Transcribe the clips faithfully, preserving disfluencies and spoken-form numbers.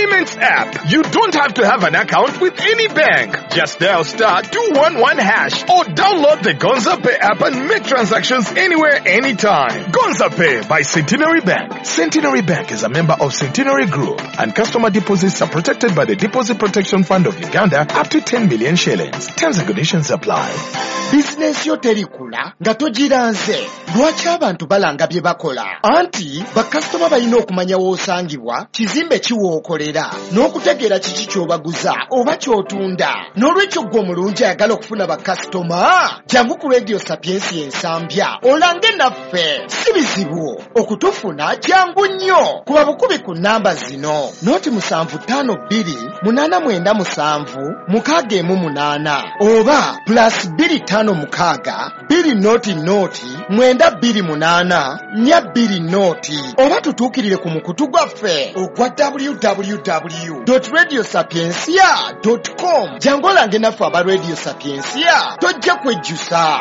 payments app. You don't have to have an account with any bank. Just dial star two one one hash or download the Gonza Pay app and make transactions anywhere, anytime. Gonza Pay by Centenary Bank. Centenary Bank is a member of Centenary Group, and customer deposits are protected by the Deposit Protection Fund of Uganda up to ten million shillings. Terms and conditions apply. Bizinensi yo terikula nga togiranze. Lwaki abantu balanga bye bakola? Anti bakasitoma balina okumanya w'osangibwa, kizimbe ki w'okolera, n'okutegeera kiki ky'obaguza oba ky'otunda. N'olwekyo ggwe omulungi ayagala okufuna bakasitoma, jangu ku Radio Sapientia Ensambya olange naffe. Si bizibu okutufuna, jangu nnyo. Kuba bukubi ku nnamba zino: noti musanvu ttaano bbiri munaana mwenda musanvu mukaaga emu munaana oba plus bbiri ttaano mukaaga bbiri noti noti mwenda bbiri munaana nnya bbiri noti, oba tutuukirire ku mukutu gwaffe ogwa w w w dot radio sapientia dot com. Jangu olange naffe aba Radio Sapientia, tojja kwejjusa.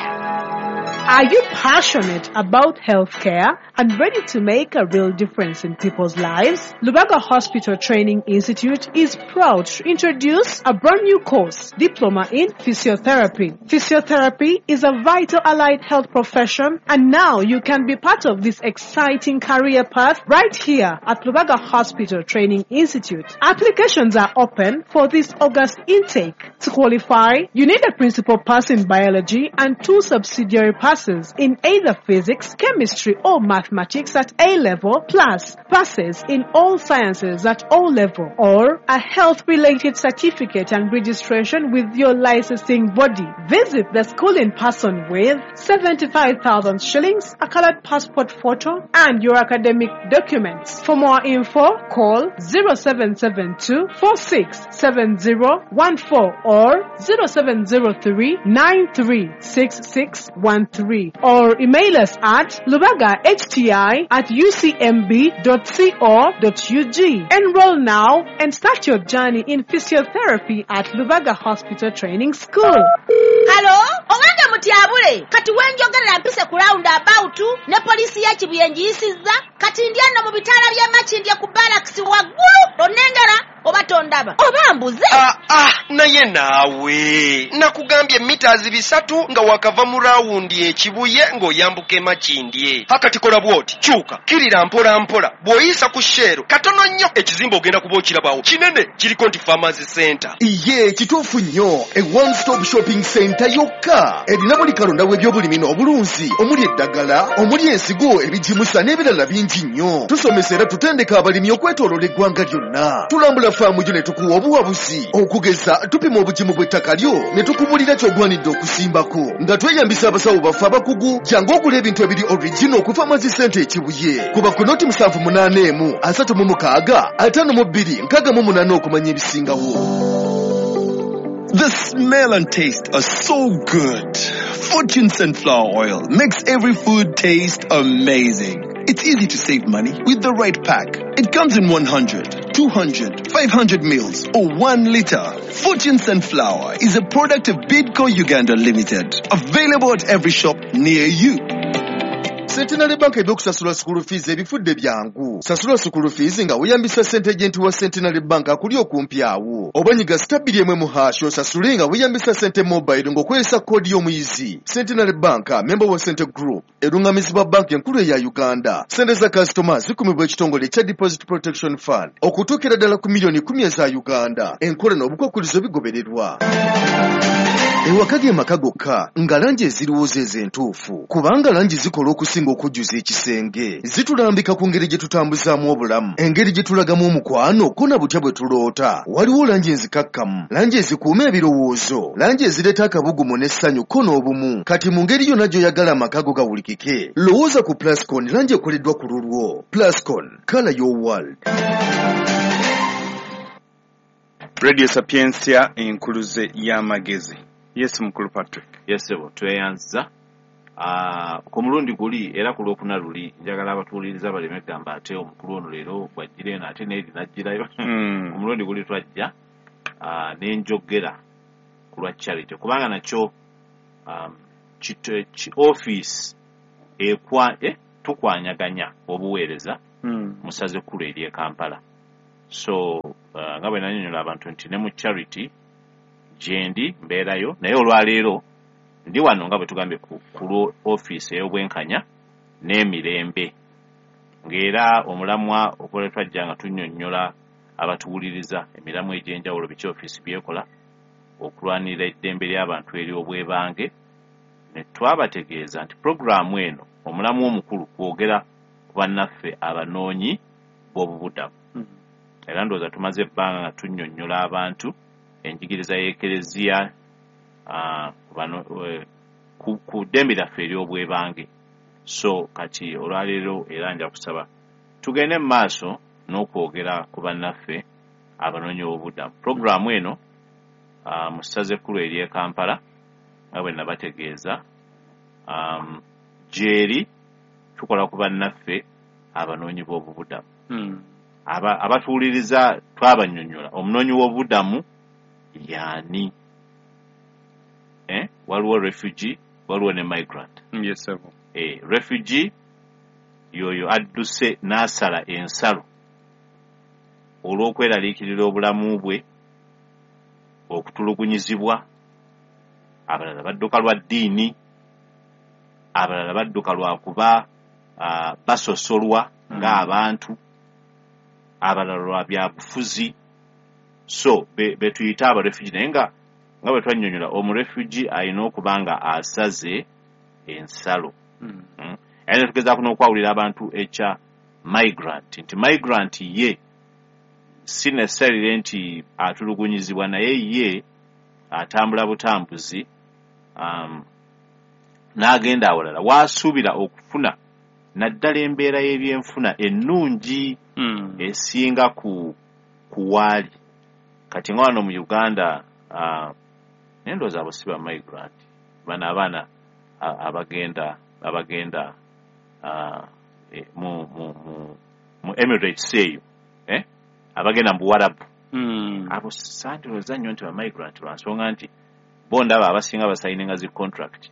Are you passionate about healthcare and ready to make a real difference in people's lives? Lubaga Hospital Training Institute is proud to introduce a brand new course, Diploma in Physiotherapy. Physiotherapy is a vital allied health profession, and now you can be part of this exciting career path right here at Lubaga Hospital Training Institute. Applications are open for this August intake. To qualify, you need a principal pass in biology and two subsidiary passes in either physics, chemistry or mathematics at A level, plus passes in all sciences at O level, or a health-related certificate and registration with your licensing body. Visit the school in person with seventy-five thousand shillings, a colored passport photo, and your academic documents. For more info, call zero seven seven two four six seven zero one four or zero seven zero three nine three six six one three, or email us at lubaga h t i at u c m b dot c o dot u g. Enroll now and start your journey in physiotherapy at Lubaga Hospital Training School. Hello, owange mutyabule, kati wenjogerera mpise ku round about ne polisi ya Kibuye njiyisizza, kati ndi ano mu bitaala by'e Makindye ku barracks waggulu, onengera oba tondaba oba mbuze. Ah, ah, naye naawe nakugambye mita bisatu nga wakava mu rawundi ekibuye ng'oyambuka e Makindye. Hakati kola bw'oti, kyuka kirira mpola mpola, bw'oyisa ku Shell katono nnyo ekizimbe ogenda kuba okirabawo kinene, kiriko nti Farmers Center. Iye kituufu nnyo, e one stop shopping center yokka erina buli kalonda w'ebyobulimi n'obulunzi, omuli eddagala, omuli ensigo, ebigimusa n'ebirala bingi nnyo. Tusomesa era tutendeka abalimi okwetooloola eggwanga lyonna. Tulambula faamu yo ne tukuwa obuwabuzi, okugeza tupima obugimu bw'ettaka lyo ne tukubulira ky'ogwanidde okusimbako nga tweyambisa abasawo baffe abakugu. Jangu ogula ebintu ebiri original ku Farmers Center e Kibuye. Kuba ku noti musanvu munaana emu asatu mu mukaaga ataano mu bbiri nkaaga mu munaana okumanya ebisingawo. The smell and taste are so good. Fortune Sunflower Oil makes every food taste amazing. It's easy to save money with the right pack. It comes in one hundred, two hundred, five hundred mils or one liter. Fortune Sunflower is a product of Bidco Uganda Limited. Available at every shop near you. Centenary Bank ebyokusasula school fees ebifudde byangu. Sasula school fees nga weeyambisa ssente agent wa Centenary Bank akuli okumpi awo. Oba nyiga star bbiri emu mu hash osasule nga weeyambisa ssente mobile ng'okozesa koodi y'omuyizi. Centenary Bank, member wa Cente Group, erungamizibwa banki enkulu eya Uganda. Ssente za kasitoma zikumibwa ekitongole ekya Deposit Protection Fund okutuukira ddala ku miliyoni kkumi eza Uganda. Enkola n'obukwakkulizo bigobererwa. Ewaka ge maka gokka nga langi eziriwo ze entuufu, kubanga langi zikola okusinga okujjuza ekisenge. Zitulambika ku ngeri gye tutambuzaamu obulamu, engeri gye tulagamu omukwano, ko na butya bwe tuloota. Waliwo langi enzikakkamu, langi ezikuuma ebirowoozo, langi ezireeta akabugumu n'essanyu ko n'obumu. Kati mu ngeri yonna gy'oyagala amaka go gawulikike, lowooza ku Plascon, langi ekoleddwa ku lulwo. Plascon, colour your world. Radio Sapientia, enkuluze y'amagezi. Yes, Mukulu Patrick. Yes, sebo, tweyanza. Uh, ku mulundi guli era ku lwokuna luli njagala abatuwuliriza baleme gamba ate omukulu ono leero bw'ajjira eno ate n'eri n'ajjirayo. Mm. Ku mulundi guli twajja uh, n'enjogera ku lwa charity, kubanga nakyo um, kito, ki office ekwa, eh, tukwanyaganya obuweereza mm. mu ssaza ekkulu ery'e Kampala. So Uh, nga bwe nannyonnyola abantu nti ne mu charity gyendi mbeerayo, naye olwaleero ndi wano nga bwe tugambye ku, ku lwo ofiisi ey'obwenkanya n'emirembe, ng'era omulamwa okukola twajja nga tunnyonnyola abatuwuliriza emiramwa egy'enjawulo biki ofiisi byekola okulwanirira eddembe ly'abantu ery'obwebange, ne twabategeeza nti puroguraamu eno omulamwa omukulu kwogera ku bannaffe abanoonyi b'obubudamu. Era ndowooza tumaze ebbanga nga tunnyonnyola abantu enjigiriza y'Ekereziya ku ddembe lyaffe ery'obwebange. So kati olwaleero era nja kusaba tugende mu maaso n'okwogera ku bannaffe abanoonyi b'obubudamu. Puroguraamu eno mu ssaza ekkulu ery'e Kampala nga bwe nabategeeza gyeri tukola ku bannaffe abanoonyi b'obubudamu. Abatuwuliriza twabannyonnyola omunoonyi w'obubudamu y'ani. Eh, waliwo refugee, waliwo ne migrant. Yes, sir. Eh, refugee yoyo adduse n'asala ensalo olw'okweraliikirira obulamu bwe, okutulugunyizibwa, abalala badduka lwa ddiini, abalala badduka lwa kuba uh, basosolwa mm. ng'abantu, abalala lwa byabufuzi. So betuyita be abarefugee, naye nga nga bwe twannyonnyola omurefugee alina okuba nga asaze ensalo. Mm. Mm. Era ne tugezaako n'okwawulira abantu ekya migrant, nti migrant ye si necessarily nti atulugunyizibwa, naye ye atambula butambuzi um, n'agenda awalala waasuubira okufuna naddala embeera y'ebyenfuna ennungi mm. esinga ku, ku waali. Kati nga wano mu Uganda uh, naye ndowooza abo si ba migrant, bano abaana abagenda abagenda uh, mu, mu, mu, mu Emirates eyo eh? abagenda mu Buwarabu mm. abo sandowooza nnyo nti ba migrant lwa nsonga nti bo ndaba abasinga basayininga zi contract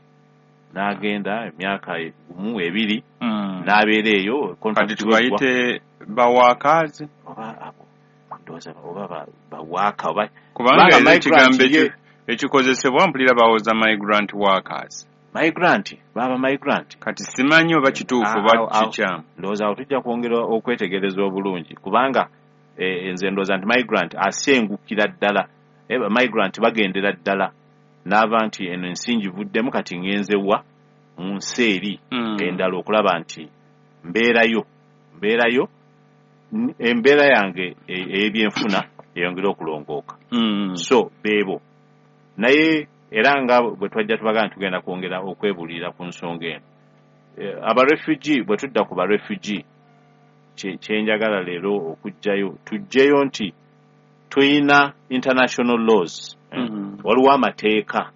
n'agenda emyaka gumu ebiri mm. n'abeera eyo. Kati tubayite bawakazi oba abo ndowooza oba bawaka oba kubanga ekigambo ekikozesebwa mpulira bawoza migrant workers. Migrant baba migrant kati simanyi oba kituufu oba kikyamu. Ndowooza awo tujja kwongera okwetegereza obulungi kubanga nze ndowooza nti migrant asengukira ddala, migrant bagendera ddala n'ava nti eno ensi ngivuddemu kati ngenze wa mu nsi eri endala okulaba nti mbeerayo mbeerayo embeera yange ey'ebyenfuna eyongere okulongooka. So beebo naye era nga bwe twajja tubagamba nti tugenda kwongera okwebuulirira ku nsonga eno. Abarefugee bwe tudda ku barefugee kye njagala leero okuggyayo tuggyeyo nti tuyina international laws. Mm. Waliwo amateeka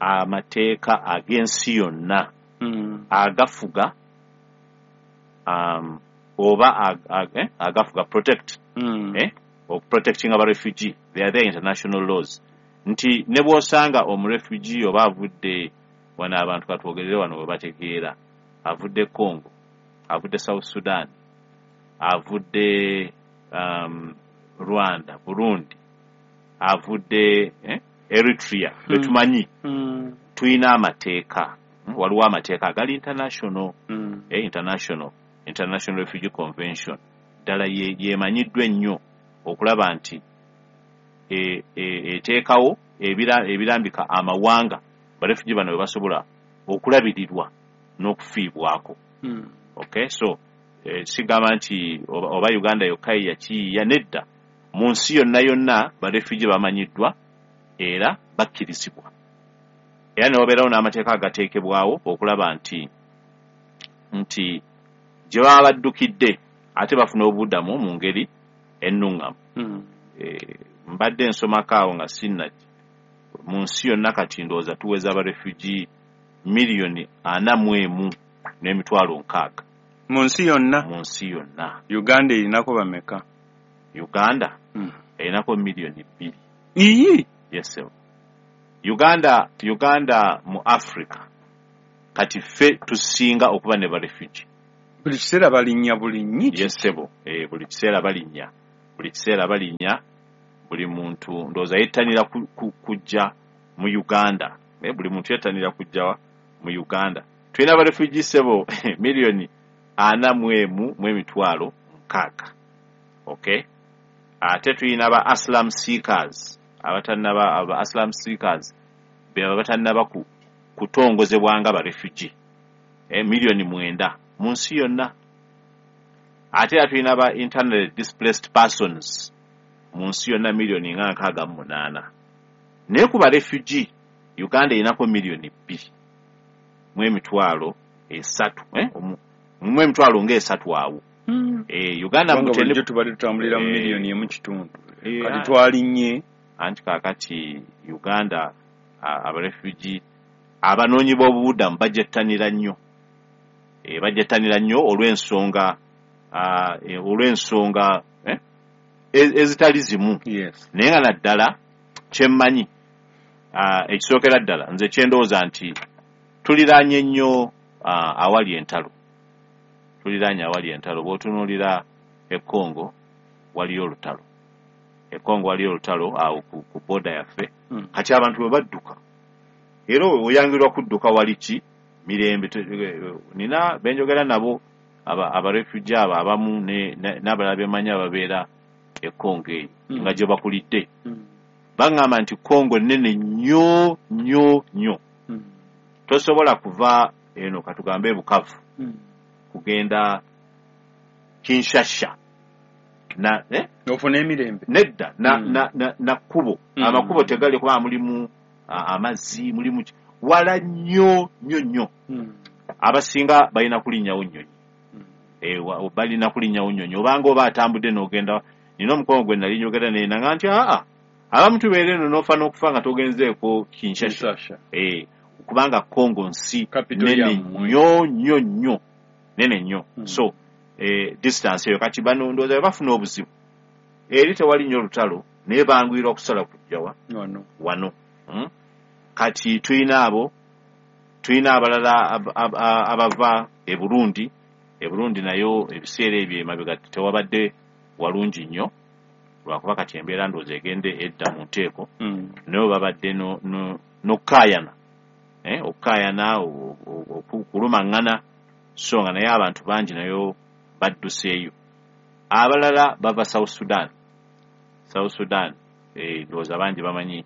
amateeka ag'ensi yonna mm. agafuga um, oba ag, ag, eh, agafuga protect mm. eh, protecting aba refugee. They are the international laws nti ne bw'osanga omurefugee oba avudde wano abantu katwogerere wano we bategeera avudde Congo, avudde South Sudan, avudde um, Rwanda, Burundi, avudde eh, Eritrea mm. betumanyi mm. tuyina amateeka. Waliwo amateeka agali international mm. eh, international International Refugee Convention ddala yemanyiddwa ennyo okulaba nti eteekawo ebirambika amawanga barefugee bano bwe basobola okulabirirwa n'okufiibwako. Mm. Okay, so eh, sigamba nti oba, oba Uganda yokka yakiyiiya, nedda, mu nsi yonna yonna barefugee bamanyiddwa era bakkirizibwa, era ne wabeerawo n'amateeka agateekebwawo okulaba nti nti gye baba baddukidde ate bafuna obubudamu mu ngeri ennuŋŋamu. Mm. E, mbadde nsomako awo nga sinnajja mu nsi yonna kati ndowooza tuweza abarefugee miliyoni ana mu emu n'emitwalo nkaaga mu nsi yonna. Mu nsi yonna. Uganda erinako bameka? Uganda mm. erinako miliyoni bbiri. Iyi? Yes, sir. Uganda Uganda mu Africa kati ffe tusinga okuba ne barefugee. Buli kiseera balinnya bulinnyi. Yes, sir. Eh, buli kiseera balinnya. Buli kiseera balinnya, buli muntu ndowooza yettanira kujja mu Uganda. Eh, buli muntu yettanira kujja mu Uganda. Tulina aba refugee sebo miliyoni ana mu emu mu emitwalo nkaaga. Okay? Ate tulina aba asylum seekers, abatannaba aba asylum seekers be abatannaba ku kutongozebwa nga ba refugee. Eh, miliyoni mwenda mu nsi yonna. Ate era tulina aba internally displaced persons mu nsi yonna miliyoni nga nkaaga mu munaana. Naye ku ba refugee Uganda erinako miliyoni bbiri mu emitwalo esatu, eh, mu emitwalo ng'esatu awo. Mm. Eh, Uganda bulijjo tubadde tutambulira mu miliyoni emu kitundu. Kati twalinnye. Anti kaakati Uganda abarefugee abanoonyi b'obubudamu bajettanira nnyo. Eh, bajettanira nnyo olw'ensonga olw'ensonga eh, ezitali zimu. Yes. Naye nga naddala kyemmanyi ekisookera ddala nze kyendowooza nti tuliraanye nnyo awali entalo. Tuliraanye awali entalo. Bw'otunuulira e Congo waliyo olutalo. E Congo waliyo olutalo awo ku, ku border yaffe. Mm. Kati abantu bwe badduka era oyangirwa kudduka wali ki mirembe. Nina benjogera nabo aba abarefugee abo abamu n'abalala bemanyi ababeera e Congo eyo mm. nga gye bakulidde. Mm. Baŋŋamba nti Congo nnene nnyo nnyo nnyo. Mm. Tosobola kuva eno katugambe Bukavu mm. kugenda Kinshasa na eh? Ofuna emirembe nedda na, mm. na, na, na kkubo mm. amakubo tegali kuba mulimu amazzi mulimu wala nnyo nnyo nnyo. Mm. Abasinga balina kulinnyawo nnyonyi. Mm. Eh, balina kulinnyawo nnyonyi obanga oba atambudde n'ogenda. Nina omukono gwe nali njogera naye nanga nti aa abamu tubeera eno n'ofa n'okufa nga togenzeeko Kinshasa. Eh, kubanga Congo nsi nene nnyo nnyo nnyo nene nnyo. Mm. So eh, distance eyo kati bano ndowooza bafuna obuzibu eri tewali nnyo olutalo naye banguyirwa okusala kujja wa wano wano. Mm? Kati tulina abo, tulina abalala ab, ab, abava e Burundi. E Burundi nayo ebiseera ebyo emabega tewabadde walungi nnyo lwakuba kati embeera ndowooza egende edda mu nteeko. Mm. Nayo babadde n'okukaayana, eh, okukaayana okulumaŋŋana, so nga naye abantu bangi nayo badduseeyo. Abalala bava South Sudan. South Sudan eh, ndowooza bangi bamanyi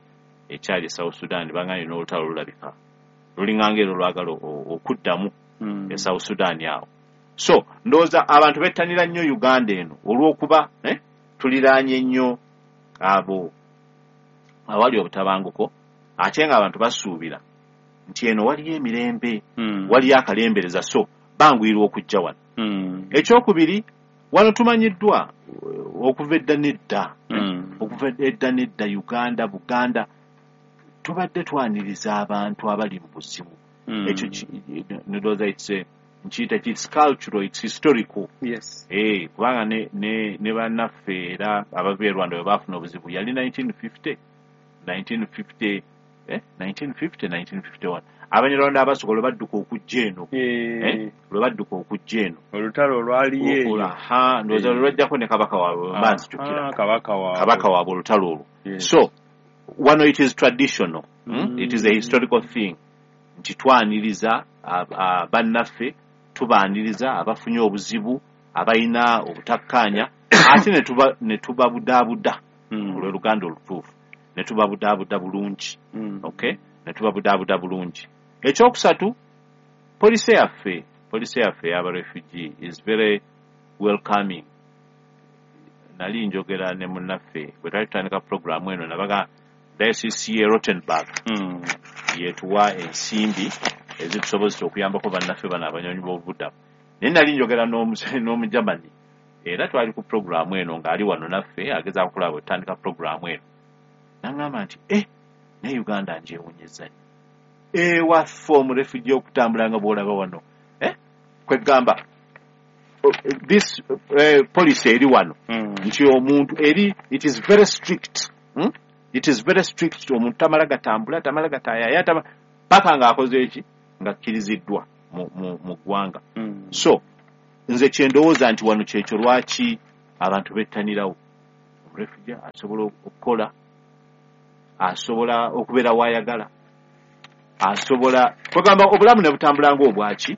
ekyali South Sudan, banganye n'olutalo lulabika lulinganga era olwagala okuddamu mm. e South Sudan awo. So ndowooza abantu bettanira nnyo Uganda eno olw'okuba eh, tuliraanye nnyo abo awali obutabanguko, ate nga abantu basuubira nti eno waliyo emirembe, mm. waliyo akalembereza, so banguyirwa okujja wano. Mm. Ekyokubiri, wano tumanyiddwa okuva edda n'edda. Mm. Okuva edda n'edda Uganda, Buganda tubadde twaniriza abantu abali mu buzibu. Mm. Ekyo ndowooza it's a nkiyita it's cultural, it's historical. Yes. Eh, kubanga ne ne ne bannaffe era abava e Rwanda bwe baafuna obuzibu yali nineteen fifty, nineteen fifty, eh, nineteen fifty, nineteen fifty-one. Abanyarwanda abasooka lwe badduka okujja eno. Eh, lwe badduka okujja eno. Olutalo olwaliyo eyo. Aha, ndowooza lwe lwajjako ne kabaka waabwe mba nzijukira. Kabaka waabwe. Kabaka waabwe olutalo olwo. Yes. So wano it is traditional. Mm. It is a historical thing. Nti twaniriza bannaffe, tubaaniriza abafunye obuzibu, abalina obutakkaanya, ate ne tubabudaabuda mm. olw'Oluganda olutuufu, ne tubabudaabuda bulungi. Mm. Okay? Ne tubabudaabuda bulungi. Ekyokusatu, poliisi yaffe, poliisi yaffe y'abarefugee is very welcoming. Nali njogera ne munnaffe bwe twali tutandika pulogulaamu eno nabaga Diocese ye Rottenburg mm. yetuwa ensimbi ezitusobozesa okuyambako bannaffe bano abanyonyi b'obubudamu. Naye nali njogera n'Omujamani era twali ku pulogulaamu eno ng'ali wano naffe agezaako okulaba bwe tutandika pulogulaamu eno. N'aŋŋamba nti eh, naye Uganda ngyewuunyizza nnyo. Ewaffe omurefugee okutambula nga bw'olaba wano. Eh? Kwegamba this uh, policy eri wano mm. nti omuntu eri it is very strict. Hmm? It is very strict. Omuntu tamala gatambula, tamala gatayaya, tamala paka ng'akoze eki ng'akkiriziddwa mu, mu, mu ggwanga. Mm. So nze kyendowooza nti wano kyekyo lwaki abantu bettanirawo. Refugee asobola okukola, asobola okubeera wayagala, asobola kwegamba obulamu ne butambula ng'obwaki,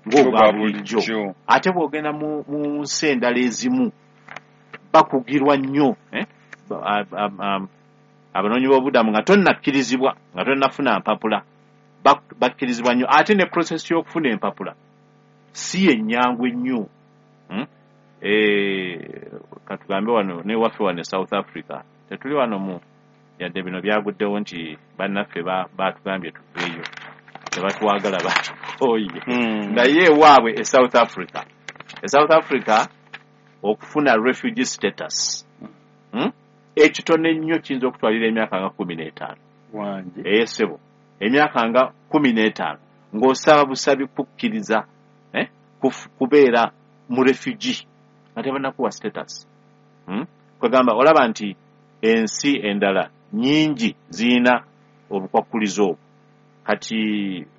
ng'obwa bulijjo. Ate bw'ogenda mu mu nsi endala ezimu bakugirwa nnyo, eh? Abanoonyi b'obubudamu nga tonnakkirizibwa, nga tonnafuna mpapula, bakkirizibwa nnyo. Ate ne process y'okufuna empapula si ennyangu ennyo. Hmm? Eh, katugambe wano newaffe wano e South Africa, tetuli wano mu yadde bino byaguddewo nti bannaffe batugambye tuveeyo, tebatwagala, batukooye. Hmm. Naye ewaabwe e South Africa, e South Africa okufuna refugee status, hmm? ekitono ennyo kiyinza okutwalira emyaka nga kumi n'etaano. Eyesebo emyaka nga kumi n'etaano ng'osaba busabi kukkiriza, eh? kubeera mu refugee nga tebannakuwa status. Hmm? Kwegamba olaba nti ensi endala nnyingi zirina obukwakkulizo obwo. Kati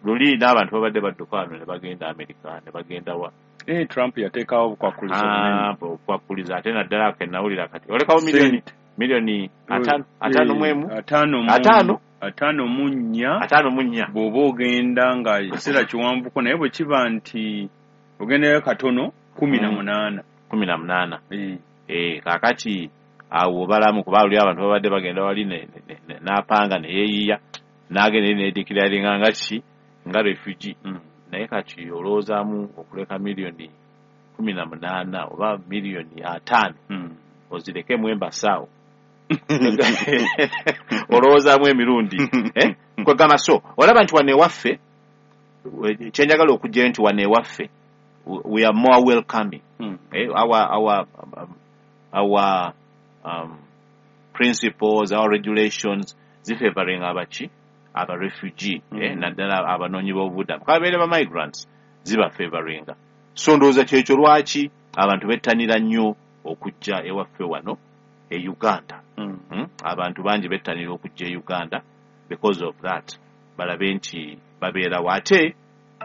luli n'abantu babadde badduka wano ne bagenda Amerika, ne bagenda wa. Eh, Trump yateekawo obukwakkulizo bunene. Ah, obukwakkulizo ate naddala ke nawulira kati olekawo miliyoni miliyoni ataano, ataano mu emu, ataano mu ataano, ataano mu nnya, ataano mu nnya. Bw'oba ogenda nga ekiseera kiwanvuko, naye bwe kiba nti ogendayo katono kumi na munaana. Kumi na munaana. Eh, kaakati awo obalamu kuba luli abantu babadde bagenda wali n'apanga ne yeeyiya n'agenda eri ne declaringa nga ki, nga refugee. Naye kati olowoozaamu okuleka miliyoni kumi na munaana oba miliyoni ataano ozirekemu embasaawo, olowoozaamu emirundi, eh? Kwegamba so olaba nti wano ewaffe, kyenjagala okujjayo nti wano ewaffe we are more welcoming. Mm. Eh, our our our um, principles, our regulations zifavoring abaki, aba refugee, Mm. eh, naddala abanoonyi b'obubudamu kababeere ba migrants, ziba favoringa. So ndowooza kyekyo lwaki abantu bettanira nnyo okujja ewaffe wano e Uganda. Mm. Mm? Abantu bangi bettanira okujja e Uganda because of that, balabe nti babeerawo. Ate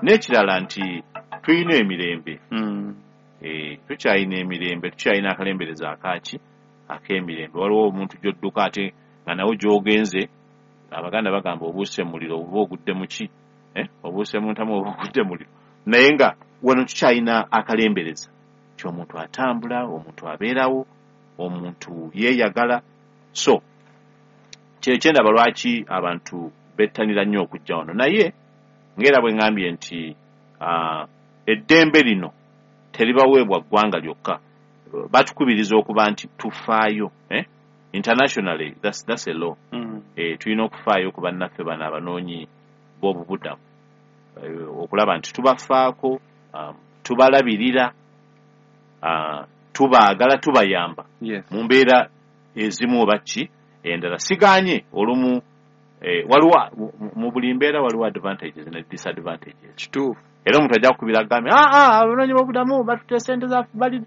n'ekirala nti tulina emirembe. Mm. Eh, tukyalina emirembe, tukyalina akalembereza akaki ak'emirembe. Waliwo omuntu gy'odduka ate nga nawe gy'ogenze, Abaganda bagamba obuuse muliro oba ogudde mu ki, eh? Obuuse mu ntamu oba ogudde muliro. Naye nga wano tukyalina akalembereza nti omuntu atambula, omuntu abeerawo, omuntu yeeyagala. So kyekyendaba lwaki abantu bettanira nnyo okujja wano. Naye ng'era bwe ŋŋambye nti uh, eddembe lino teribaweebwa ggwanga lyokka, batukubiriza okuba nti tufaayo, eh? Internationally that's, that's a law. Mm. Eh, tulina okufaayo ku bannaffe bano abanoonyi b'obubudamu, eh, okulaba nti tubafaako, um, tubalabirira, uh, tubaagala, tubayamba Yes. mu mbeera ezimu oba ki endala. Sigaanye olumu, eh, waliwo mu buli mbeera waliwo advantages ne disadvantages. Kituufu. Era omuntu ajja kukubira agambe, ah, ah, abanoonyi b'obubudamu batutte sente zaffe bali.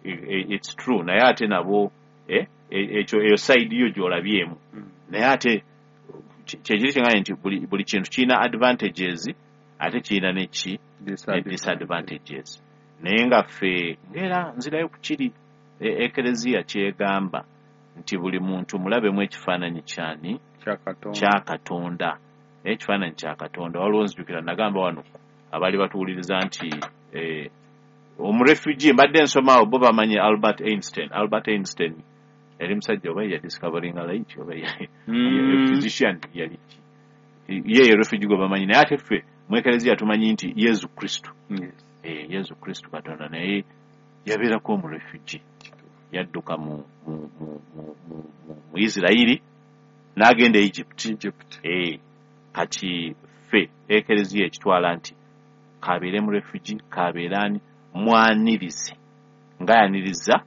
It's true, naye ate nabo, eh, ekyo eyo side yo gy'olabyemu. Mm. Naye ate kyekiri kyeŋŋambye nti buli, buli kintu kirina advantages ate kirina neki ne disadvantages. Naye nga ffe ng'era nzirayo ku kiri Ekereziya kyegamba nti buli muntu mulabemu ekifaananyi kyani, Kya Katonda. Kya Katonda. Naye ekifaananyi kya Katonda, waliwo nzijukira nagamba wano abaali batuwuliriza nti eh, omurefugee mbadde nsomaawo bo bamanyi Albert Einstein. Albert Einstein yali musajja oba yadiscoveringa light oba Mm. physician, yali ki, ye ye refugee gwe bamanyi. Naye ate ffe mu Ekereziya tumanyi nti Yesu Kristo, Yes. eh, Yesu Kristo Katonda naye yabeerako omurefugee, yadduka mu, mu, mu, mu, mu, mu, mu Isirayiri n'agenda e Egypt. Egypt. Eh, kati ffe Ekereziya ekitwala nti kabeere mu refugee, kabeere ani, mwanirize ng'ayaniriza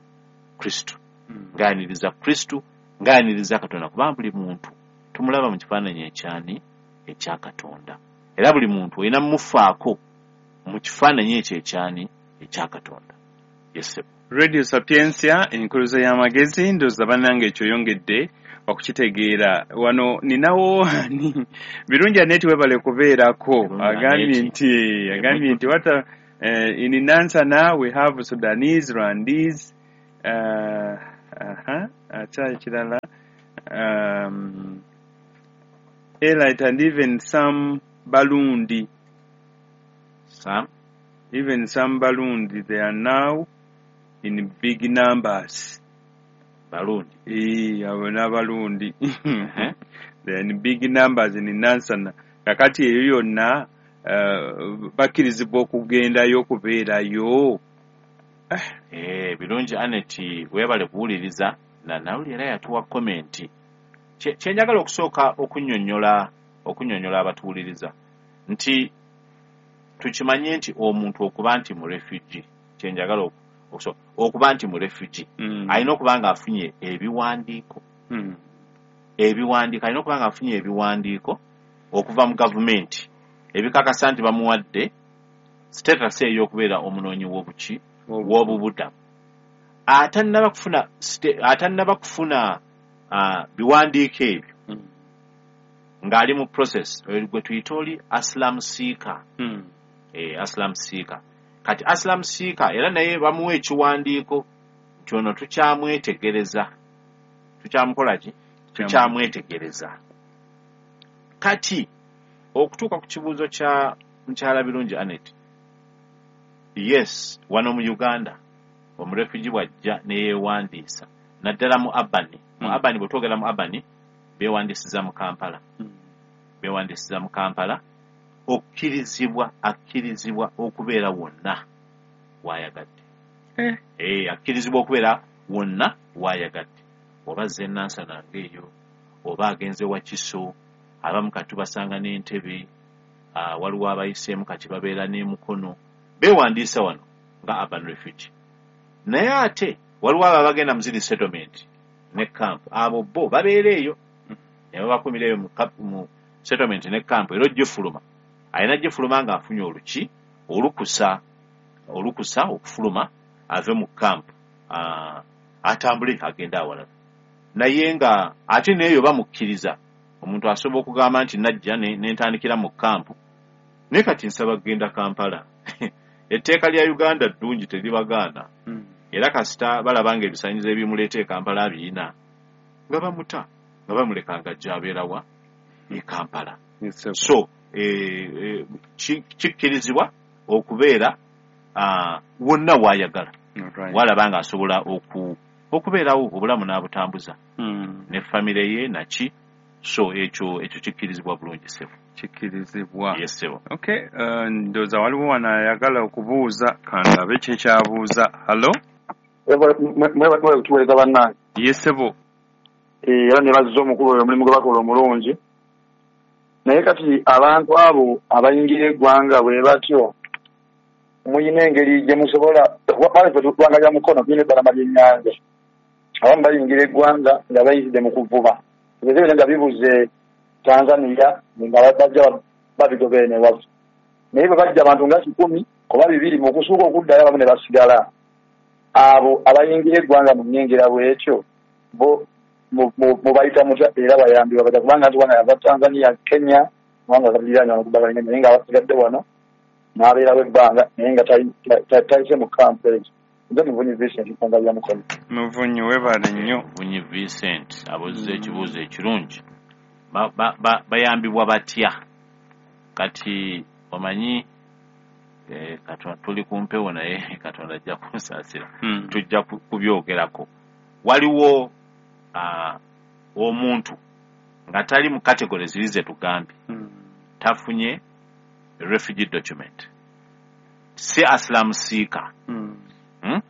Kristo, Mm. ng'ayaniriza Kristo, ng'ayaniriza Katonda, kubanga buli muntu tumulaba mu kifaananyi ekyani, ekya Katonda. Era buli muntu olina mumufaako mu kifaananyi ekyo ekyani, ekya Katonda. Yes. Radio Sapientia, enkuluzo y'amagezi. Ndowooza bannange ekyo oyongedde okukitegeera. Wano ninawo ani, Birungi Aneti, webale kubeerako. Birungi Agambye Aneti. nti agambye nti what a, uh, in Nansana we have Sudanese, Rwandese, uh, uh-huh. Ate ekirala, um, elite and even some Balundi, Some even some Balundi, they are now in big numbers. Balundi. Eh, abo n'Abalundi. They are in big numbers in Nansana. Kakati eyo yonna uh, bakkirizibwa okugendayo okubeerayo. Eh, Birungi Anet, weebale kuwuliriza na nawuli era yatuwa comment. Kye kye njagala okusooka okunnyonnyola okunnyonnyola abatuwuliriza nti tukimanye nti omuntu okuba nti mu refugee, kye njagala oku- okusooka okuba nti mu refugee Mm. alina okuba ng'afunye ebiwandiiko, Mm. ebiwandiiko alina okuba ng'afunye ebiwandiiko okuva mu gavumenti ebikakasa nti bamuwadde status ey'okubeera omunoonyi w'obuki w'obubudamu. Atannaba kufuna ste- atannaba kufuna ah, biwandiiko ebyo Mm. ng'ali mu process oyo gwe tuyita oli asylum seeker. Mm. Eh, asylum seeker. Kati asylum seeker era naye bamuwa ekiwandiiko nti ono tukyamwetegereza, tukyamukola ki, tukyamwetegereza. Kati okutuuka ku kibuuzo kya mukyala Birungi Anet, yes, wano mu Uganda omurefugi bw'ajja ne yeewandiisa naddala mu Abani, mu Mm. Abani, bwe twogera mu Abani beewandiisiza mu Kampala, Mm. beewandiisiza mu Kampala, okkirizibwa akkirizibwa okubeera wonna w'ayagadde. Eh. Eh, akkirizibwa okubeera wonna w'ayagadde, oba azze Nansana ng'eyo, oba agenze Wakiso, abamu kati tubasanga n'Entebe, ah, waliwo abayiseemu kati babeera n'emukono, beewandiisa wano nga urban refugee. Naye ate waliwo abo abagenda mu ziri settlement ne camp, abo bo babeera eyo ne babakumira eyo mu cap- mu settlement ne camp, era ogifuluma alina gifuluma ng'afunye oluki olukusa olukusa okufuluma ave mu camp, ah, atambule agende awalala. Naye nga ate n'eyo bamukkiriza, omuntu asobola okugamba nti najja ne ne ntandikira mu camp, naye kati nsaba kugenda Kampala. Etteeka lya Uganda ddungi, teribagaana. Mm. Era kasita balaba ng'ebisaanyizo ebimuleeta e Kampala abirina, nga bamuta nga bamuleka ng'ajja abeerawa e Kampala. Yes, sir. So eh, eh, ki- kikkirizibwa okubeera ah, wonna w'ayagala, Alright. walaba ng'asobola oku okubeerawo obulamu n'abutambuza Mm. ne famire ye naki. So ekyo ekyo kikkirizibwa bulungi, ssebo. Kikkirizibwa. Yes, ssebo. Okay, uh, ndowooza waliwo wano ayagala okubuuza, kandabe kye kyabuuza. Hallo? Mwebale kutuweereza bannange. Yes, ssebo. Eh, era ne bazza omukulu oyo omulimu gwe bakola omulungi. Naye kati abantu abo abayingira eggwanga bwe batyo, muyina engeri gye musobola, wale ffe ggwanga lya Mukono, tulina ebbalama ly'ennyanja. Abamu bayingira eggwanga nga bayitidde mu kuvuba, ebyo byonna nga bibuze Tanzania, nga bajja babigoba eno ewaffe. Naye bwe bajja abantu nga kikumi oba bibiri, mu kusuuka okuddayo abamu ne basigala. Abo abayingira eggwanga mu nnyingira bw'etyo bo mu- mu- mubayita mutya era bayambibwa batya? Kubanga nti wano yava Tanzania, Kenya, kubanga galiraanye wano kubagalina, naye nga abasigadde wano n'abeerawo ebbanga naye nga tayi- ta- ta- tayise mu kampu ezo. Nze Muvunyi Vincent, ggwanga lya Mukono. Muvunyi, weebale nnyo. Muvunyi Vincent abuuzizza Mm. ekibuuzo ekirungi. Ba- ba- ba- bayambibwa batya? Kati omanyi eh, Katonda, tuli ku mpewo, naye Katonda ajja kunsaasira, Mm. tujja ku- kubyogerako. Waliwo ah, omuntu nga tali mu category ziri ze tugambye, Mm. tafunye refugee document, si asylum seeker. Mm. Hmm?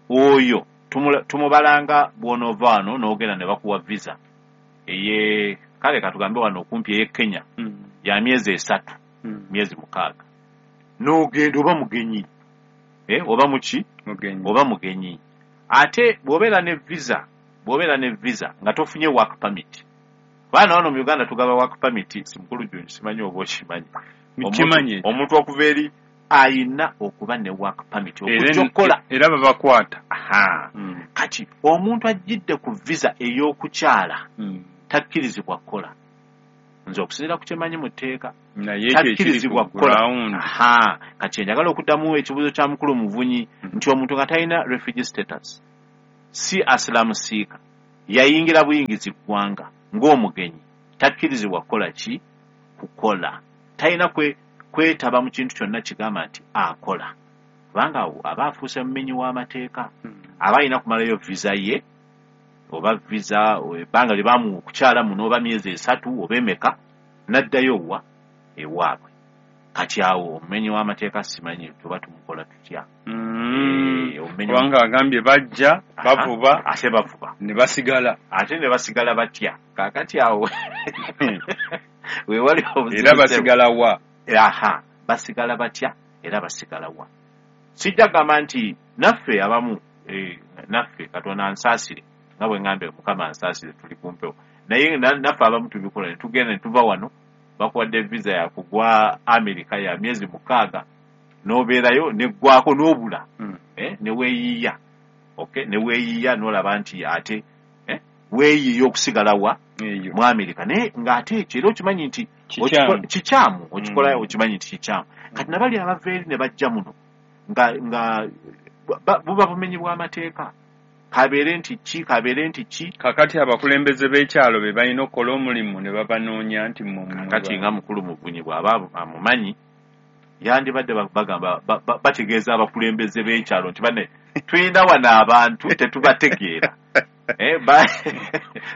Oyo tumula- tumubalanga bw'onoova wano n'ogenda ne bakuwa visa eye, kale katugambe wano okumpi ey'e Kenya Mm. ya myezi esatu, Mm. myezi mukaaga, n'ogenda oba mugenyi, eh, oba muki, Mugenyi. oba mugenyi. Ate bw'obeera ne visa bw'obeera ne visa nga tofunye work permit, baana wano mu Uganda tugaba work permit, si mukulu Junju, simanyi oba okimanyi. Nkimanyi. Omuntu- omuntu okuva eri ayina okuba ne work permit Era okujja okukola. era babakwata. Aha. Mm. Kati omuntu ajjidde ku visa ey'okukyala Mm. takkirizibwa kukola. Nze okusinziira ku kyemanyi mu tteeka, Naye ekyo ekiri takkirizibwa ku kukola. ground. Aha, kati njagala okuddamu ekibuuzo kya mukulu Muvunyi Mm. nti omuntu nga talina refugee status, si asylum seeker, Yayingira buyingizi ggwanga ng'omugenyi, takkirizibwa kukola ki? Kukola. Talina kwe kwetaba mu kintu kyonna kigamba nti akola, kubanga awo aba afuuse mumenyi w'amateeka. Aba alina kumalayo visa ye, oba visa ebbanga lye bamuwa okukyala muno, oba myezi esatu oba emeka, n'addayo wa ewaabwe. Kati awo omumenyi w'amateeka simanyi tuba tumukola tutya. Mm. Eh, omumenyi- Kubanga agambye bajja Aha, bavuba ate bavuba ne basigala, ate ne basigala batya? Kaakati awo wewali obuzibu. Era basigala wa? Aha, basigala batya era basigala wa? Sijja kugamba nti naffe abamu, eh, naffe Katonda ansaasire, nga bwe ŋŋambye Mukama ansaasire, tuli kumpewo, naye na- naffe abamu tubikola ne tugenda ne tuva wano, bakuwadde visa yakugwa Amerika ya myezi mukaaga, n'obeerayo neggwako n'obula, Mm. eh, ne weeyiiya, okay, ne weeyiiya n'olaba nti ate, eh, weeyiiya okusigala wa? Eyo. Mu Amerika. Naye ng'ate ekyo era okimanyi nti Kikyamu. okikola- kikyamu, okikola, Mm. okimanyi nti kikyamu. Kati nabali abava eri ne bajja muno nga nga ba- buba bumenyi bw'amateeka, kabeere nti ki, kabeere nti ki. Kakati abakulembeze b'ekyalo be balina okukola omulimu ne babanoonya nti mmwe mmwe Kakati ba- nga mukulu Muvunyi bw'aba amumanyi, yandibadde ba- bagamba ba- ba- bategeeza abakulembeze b'ekyalo nti bane tulina wano abantu tetubategeera. Eh, ba-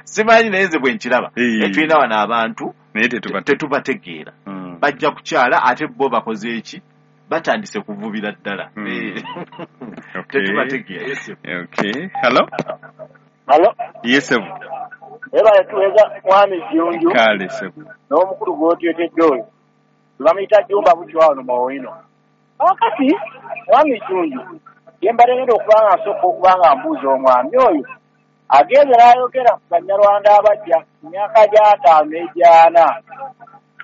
simanyi, naye nze bwe nkiraba. Eh. Eh, tulina wano abantu naye tetubate tetubategeera, Mm. bajja kukyala ate bo bakoze eki? Batandise kuvubira ddala. Mm. Eh, Okay. tetubategeera. Yes, sir. Okay, hello. Alo, Yes, sir. ebale tuweza mwami Jjunju Kale sebo. n'omukulu gw'otyotedde oyo. Bamuyita Jjumba Bukyo wano Mawino. Kaakati mwami Jjunju, ye mbadde ngenda okuba nga nsooka okuba nga mbuuza omwami oyo agenze n'ayogera ku Banyarwanda abajja mu myaka gy'ataano n'egyana.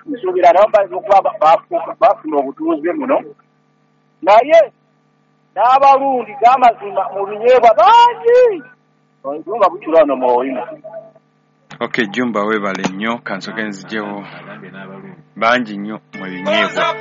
Nsuubira nabo bayinza okuba ba- bafuuka- bafuna obutuuze muno. Naye n'abalundi g'amazima mu binyeebwa bangi. Jjumba Bukyo wano Mawino. Okay, Jumba, weebale nnyo. Kansooke nzijewo Agambye n'abalungi bangi nnyo mu binyeebwa.